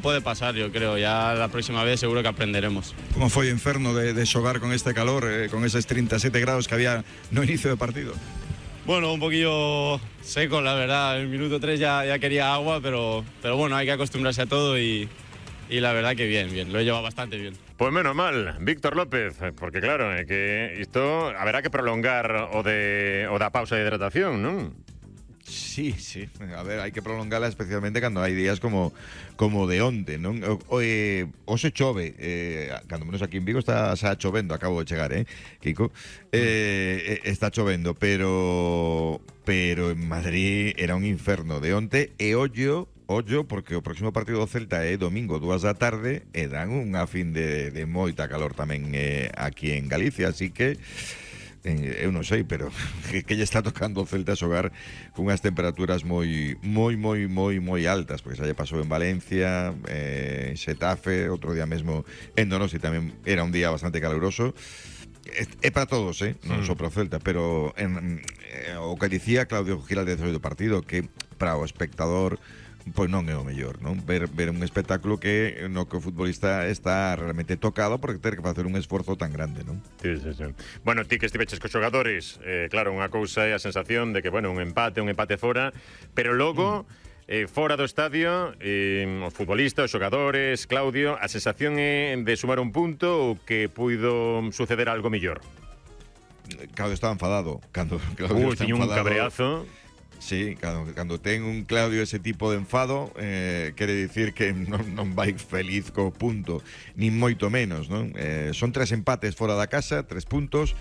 Puede pasar, yo creo, ya la próxima vez seguro que aprenderemos. Como foi o inferno de xogar con este calor, con esos 37 grados que había no inicio de partido? Bueno, un poquillo seco, la verdad. El minuto 3 ya quería agua, pero bueno, hay que acostumbrarse a todo y la verdad que bien, lo he llevado bastante bien. Pues menos mal, Víctor López, porque claro, que isto haberá que prolongar o da pausa de hidratación, non? Sí, a ver, hai que prolongarla especialmente cando hai días como de onte, non? Hoxe chove, cando menos aquí en Vigo está chovendo, acabo de chegar, Kiko? Está chovendo, pero en Madrid era un inferno de onte e ollo, porque o próximo partido do Celta é domingo 2 da tarde e dan unha fin de moita calor tamén aquí en Galicia, así que eu non sei, pero que lle está tocando o Celta xogar con unhas temperaturas moi altas, porque xa lle pasou en Valencia, en Xetafe, outro día mesmo en Donosti tamén era un día bastante caluroso. É para todos, non só para o Celta, pero o que dicía Claudio Giraldez do partido, que para o espectador pois non é o mellor, non? Ver un espectáculo no que o futbolista está realmente tocado porque ter que facer un esforzo tan grande, non? Sí. Bueno, ti que estiveches cos xogadores, claro, unha cousa é a sensación de que, bueno, un empate fora, pero logo fora do estadio, os futbolistas, os xogadores, Claudio, a sensación é de sumar un punto ou que puido suceder algo mellor? Claudio estaba enfadado. Claudio tiña un cabreazo. Sí, cando ten un Claudio ese tipo de enfado, quere dicir que non vai feliz co punto, nin moito menos, non? Son 3 empates fora da casa, 3 puntos.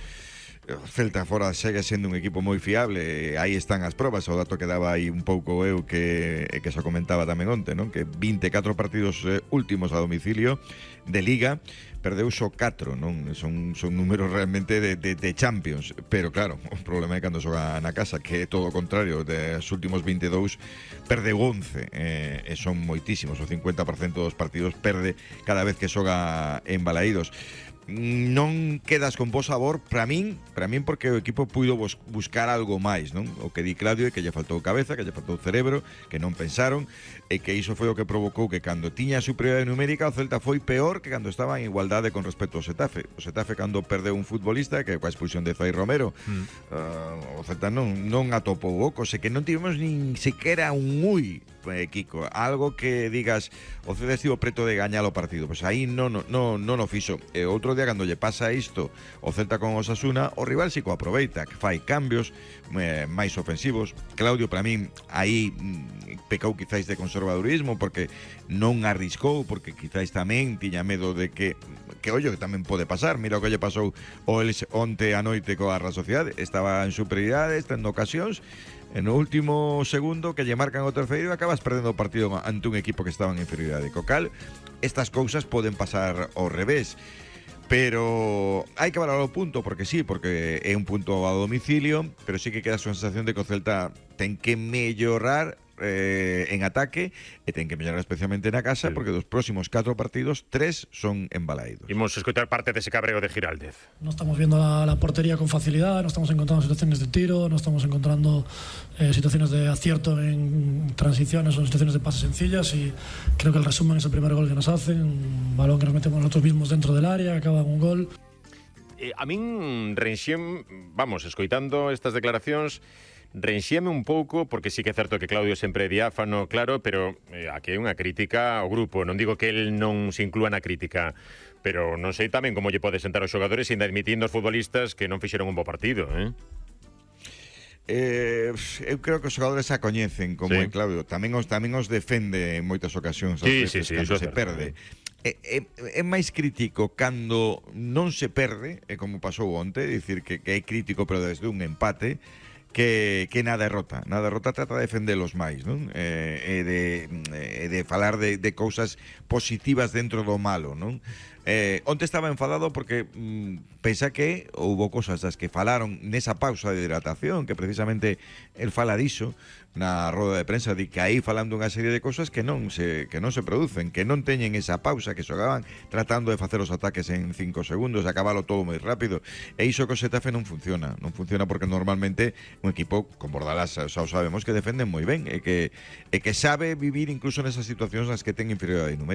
Celta fora segue sendo un equipo moi fiable, aí están as probas, o dato que daba aí un pouco eu que se comentaba tamén onte, non? Que 24 partidos últimos a domicilio de Liga, perdeu só 4, non? Son números realmente de Champions, pero claro, o problema é cando xoga na casa, que é todo o contrario, dos últimos 22 perdeu 11, e son moitísimos, o 50% dos partidos perde cada vez que xoga en Balaídos. Non quedas con bo sabor para min porque o equipo puido buscar algo máis, non? O que di Claudio é que lle faltou cabeza, que lle faltou cerebro, que non pensaron e que iso foi o que provocou que cando tiña a superioridade numérica o Celta foi peor que cando estaba en igualdade con respecto ao Xetafe. O Xetafe cando perdeu un futbolista, que coa expulsión de Zai Romero, o Celta non atopou ocos, e que non tivemos nin sequera un Kiko, algo que digas o Celta estivo preto de gañar o partido, pois aí non o fixo. E outro día cando lle pasa isto o Celta con Osasuna, o rival si co aproveita, que fai cambios máis ofensivos. Claudio, para min, aí pecou quizáis de conservadurismo porque non arriscou, porque quizáis tamén tiña medo de que ollo, que tamén pode pasar. Mira o que lle pasou onte a noite coa Real Sociedade, estaba en superioridade, tendo ocasións, e no último segundo que lle marcan o terceiro acabas perdendo o partido ante un equipo que estaba en inferioridade. Co cal, estas cousas poden pasar ao revés, pero hai que valorar o punto, porque é un punto a domicilio, pero sí que queda a sensación de que o Celta ten que mellorar en ataque e ten que mellorar especialmente na casa, porque dos próximos 4 partidos 3 son en Balaídos. Imos escoitar parte dese cabreo de Giraldez. No estamos viendo la portería con facilidad, no estamos encontrando situaciones de tiro, no estamos encontrando situaciones de acierto en transiciones o en situaciones de pases sencillas, y creo que el resumen es el primer gol que nos hacen, un balón que nos metemos nosotros mismos dentro del área, acaba en un gol. A min escoitando estas declaracións, renxíame un pouco, porque sí que é certo que Claudio sempre é diáfano, claro, pero aquí hai unha crítica ao grupo. Non digo que el non se inclúa na crítica, pero non sei tamén como lle pode sentar aos xogadores ainda admitindo aos futbolistas que non fixeron un bo partido, Eu creo que os xogadores a coñecen como é Claudio, tamén os defende en moitas ocasións cando se perde. É máis crítico cando non se perde, como pasou onte, dicir que é crítico pero desde un empate, que na derrota trata de defendelos máis, non? E de falar de cousas positivas dentro do malo, non? Onte estaba enfadado porque pensa que houbo cosas das que falaron nesa pausa de hidratación, que precisamente el fala diso na roda de prensa, de que aí falando unha serie de cosas que non se producen, que non teñen esa pausa, que xogaban tratando de facer os ataques en 5 segundos, acabalo todo moi rápido, e iso que o Xetafe non funciona porque normalmente un equipo con Bordalás xa o sabemos que defenden moi ben e que sabe vivir incluso nesas situacións nas que ten inferioridade numérica.